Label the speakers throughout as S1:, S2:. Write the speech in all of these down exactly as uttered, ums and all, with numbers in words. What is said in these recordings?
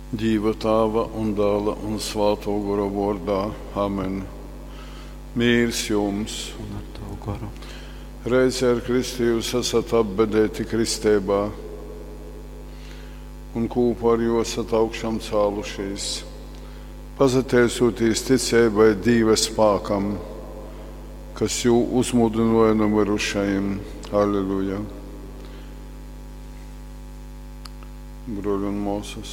S1: Dīva Tāva un Dāla un Svātō Gora vōrdā. Amen. Mīrs jums!
S2: Un ar tavu goru.
S1: Reizē ar Kristu jūs esat apbedeiti kristeibā un kūpā ar jū esat augšām cālušīs, pasateicūtīs ticeibai Dīva spākam, kas jū uzmūdynōja nu myrušajim. Alleluja! Brōļi un mōsas,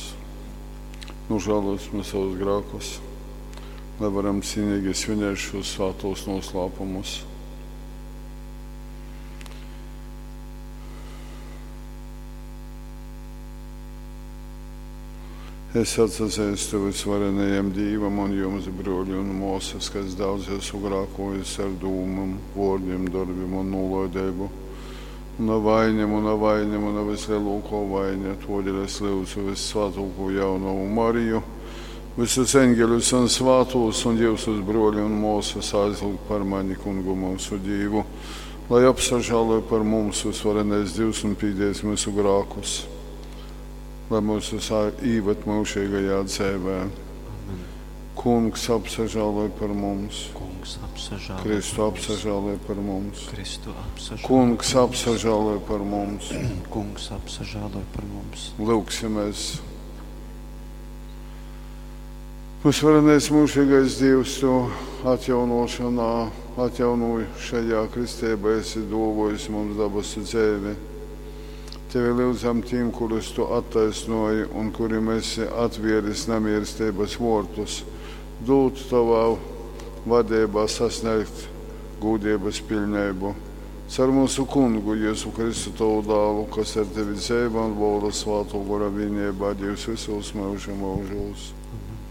S1: nožēlosim savus grēkus, lai varam cīnīgi svinēt šos svātos noslēpumus. Es atsazeistu visvarenajam Dīvam un jums, brōļi un mōsas, ka es daudz esmu grākojis ar dūmām, vōrdim, dorbim un nūlaideibu. Muna vaine, muna vaine, muna vislielākā vaine, todēļ es lūdzu vissvātāko jaunavu Mariju, visus eņģeļus un svātos un jūsus brōļi un mōsas aizlūgt par mani kungu mūsu Dīvu, lai apsažāloj par mums visvarenais Dievs un pīdēs mūsu grākus, lai mūsu īved mūžīgajā dzēvē.
S2: Amen.
S1: Kungs apsažāloj par mums,
S2: Kungs apsažāloj
S1: Kristu
S2: par mums.
S1: apsažāloj par mums,
S2: Kristu apsažāloj
S1: Kungs
S2: par mums.
S1: apsažāloj par mums.
S2: Kungs apsažāloj par mums.
S1: Lūgsimies. Visvarenais mūžīgais Dievs, tu atjaunošanā, atjaunošajā kristībā esi dāvājis mums dabasu dzēvi. Tevi lūdzam tiem, kurus tu attaisnoji un kuriem esi atvieris namierstības vortus, dūt tavā vadībā sasniegt gūdības pilnību. Caur mūsu kungu Jēzu Kristu tavu dālu, kas ar tevi dzēva un valda svāto gora vienībā Dievs visos mūža mūžos.
S2: Amen.